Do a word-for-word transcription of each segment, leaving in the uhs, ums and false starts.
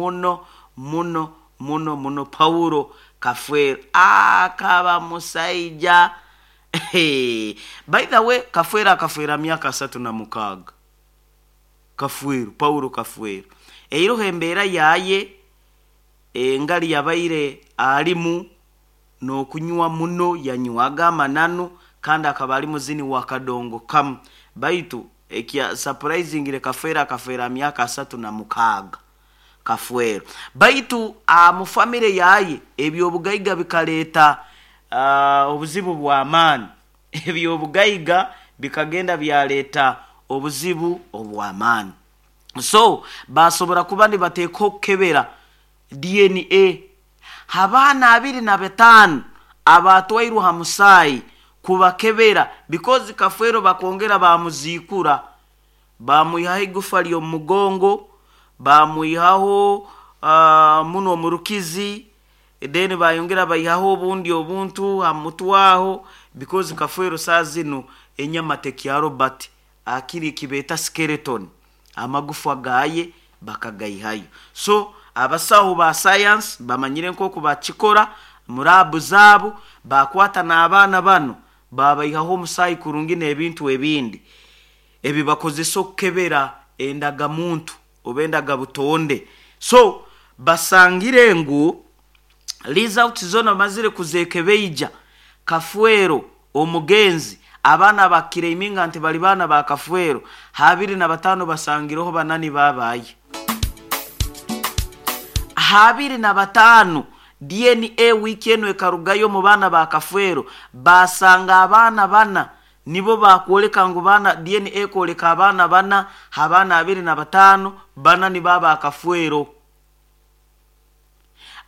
Muno muno muno muno. Paulo Kafwero akaba musaija. By the way, Kafwero akafwera myaka asatu na mukaaga. Kafwero, Paulo Kafwero, eiroho embeera yaye engali yabaire alimu n'okunywa muno, yanywaga amananu kandi akaba ali muzini wa kadongo kamu. Baitu ekya surprisingire, Kafwero akafwera myaka asatu na mukaaga. Kafwero, baitu mu famire yaye ebyobugaiga bikaleeta uh, obuzibu bw'amaani. Ebyobugaiga bikagenda byaleeta obuzibu obw'amaani, so basobora kuba nibateeka okukebera D N A. Abaana abiri na bataano abatwairwe ha musaayi kubakebera, because Kafwero bakongera bamuziikura, bamwihaho igufa ly'omu mugongo, bamwihaho uh, muno omurukizi, then bayongera baihaho obundi obuntu ha mutwaho, because Kafwero saa zinu enyama tekyaro, but akiri kibeeta skeleton, amagufa gaye bakagaihayo. So abasaho ba science bamanyire nk'oku bakikora mu lab zaabo, bakwata n'abaana bano babaihaho omusaayi kurungi n'ebintu ebindi ebi bakozesa okukebera endagamuntu oba endagabutonde. So basangire ngu results zona bamazire kuzekebeija, Kafwero omugenzi, abaana bakireiminga nti bali baana ba Kafwero, habiri na bataano basangireho banani babaye. Habiri na bataano, D N A wiiki eno ekarugayo mu baana ba Kafwero, basanga abaana bana nibo bakwoleka ngu baana. D N A kwoleka abaana bana, abaana abiri na bataano, bana nibo abakafwero.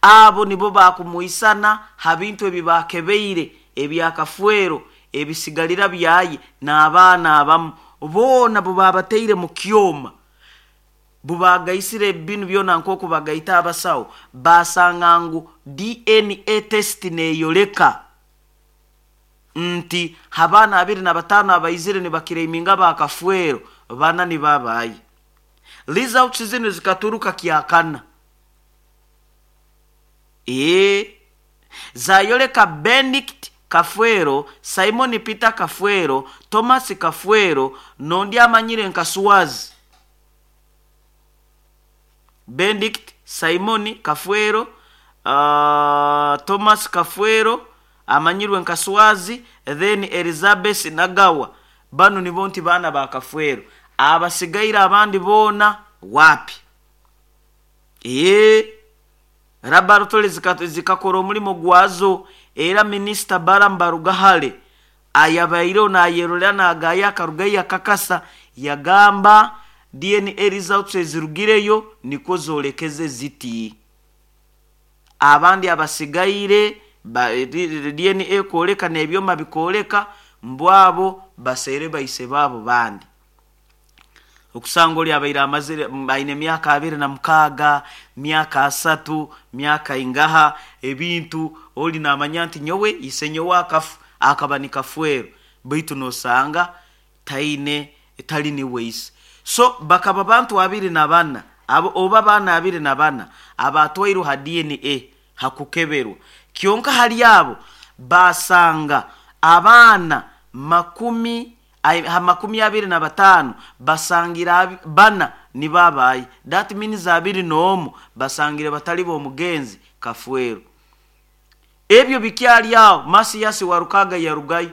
Abo nibo bakumwisana ha bintu ebi bakebeire ebyakafwero, ebisigalira byaye n'abaana abamu boona bubabateire mu kyoma, bubagaisire binu byona nk'oku bagaita abasawo, basanga ngu D N A test neyoleka nti abaana abiri na bataano abaizire nibakireiminga bakafwero, bana nibabaye. Results zinu zikaturuka kyakana, ee zayoleka Benedict Kafwero, Simon Peter Kafwero, Thomas Kafwero nondi amanyire nka Swazi. Benedict Simon Kafwero, uh, Thomas Kafwero amanyirwe nka Swazi, then Elizabeth Nagawa. Bano nibo nti baana ba Kafwero. Abasigaire abandi boona wapi? Ee laboratory zikakora omulimo gwazo. Era Minisita Balaam Barugahare ayabaireho nayerolera nagaya, akarugayo akakasa, yagamba D N A results ezirugireyo nikwo zolekeze ziti. Abandi abasigaire D N A kwoleka n'ebyoma bikwoleka mbwabo baseere baise baabo bandi. Okusanga oli abaire amazire aine emyaka abiri na mukaaga, myaka asatu, myaka ingaha, ebintu oli namanya nti nyowe ise nyowe akafu akaba ni Kafwero, baitu nosanga taine tali niwe ise. So bakaba bantu abiri na bana abo, oba baana abiri na bana abatwairwe ha D N A hakukeberwa. Kyonka hali abo basanga abaana makumi ha makumi abiri na bataano basangira bana nibabaye. That means abiri n'omu basangire batali b'omugenzi Kafwero. Ebyo bikyali awo, Masiyasi Warukaga yarugayo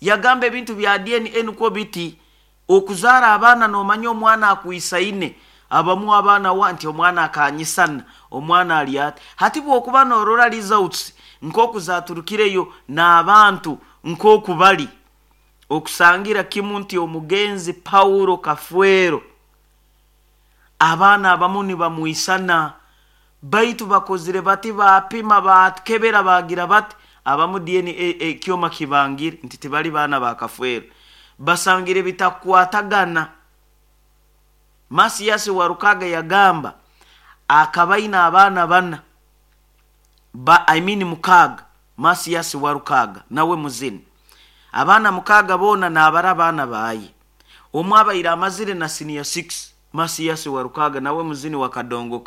yagamba ebintu bya D N A nukwo biti. Okuzaara abaana nomanya omwana akwisaine, abamu abaana wa nti omwana akanyisana, omwana ali ati. Hati bwokuba norora results nk'oku zaturukireyo n'abantu nk'oku bali okusangira kimu nti omugenzi Paulo Kafwero abaana abamu nibamwisana, baitu bakozire bati, bapima, bakebera, bagira bati abamu D N A ekyoma kibangire nti tibali baana ba Kafwero, basangire bitakwatagana. Masiyasi Warukaga yagamba akabaina abaana bana ba, I mean mukaaga. Masiyasi Warukaga nawe muzini, abaana mukaaga boona nabara abaana baye. Omwe abaire amazire na senior six. Masiyasi Warukaga nawe muzini wa kadongo.